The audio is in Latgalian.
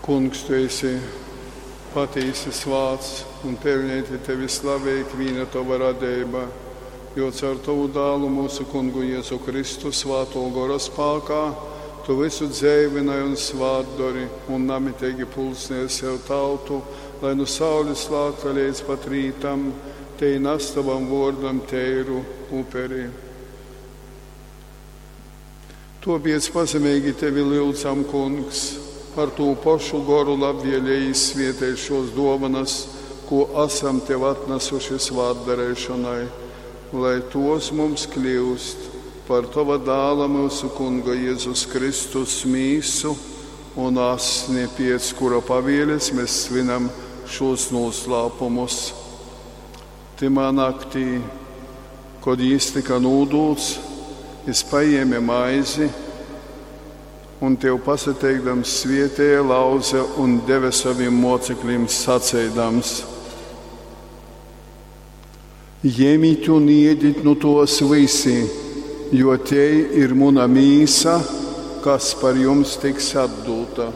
Kungs, tu esi patīsi svāts un peļneiti tevi slavej ikvīna tova radeiba, jo caur tovu dālu mūsu kungu Jēzu Kristu svātō gora spākā tu vysu dzeivynoj un svātdori un namiteigi pulcnej sev tautu, lai nu saulis lākta leidz pat rītam tei nas tovam vuordam teiru uperi. Tuopiec pazemeigi tevi lyudzam, Kungs, par tū pošu goru labvieleigi izsvietej šuos duovanys, kū asam tev atnasuši svātdareišonai, lai tuos mums kliust par tova dāla myusu Kunga Jezus Kristus mīsu un asni, piec kura pavieles mes svinam šūs nūslāpumus. Tymā naktī, kod jis tyka nūdūts, jis pajēme maizi un tev pasateikdams svietēja, lauze un deve sovim muoceklim saceidams: Jemit un iedit nu tuos vysi, jo tei ir muna mīsa, kas par jums tiks atdūta.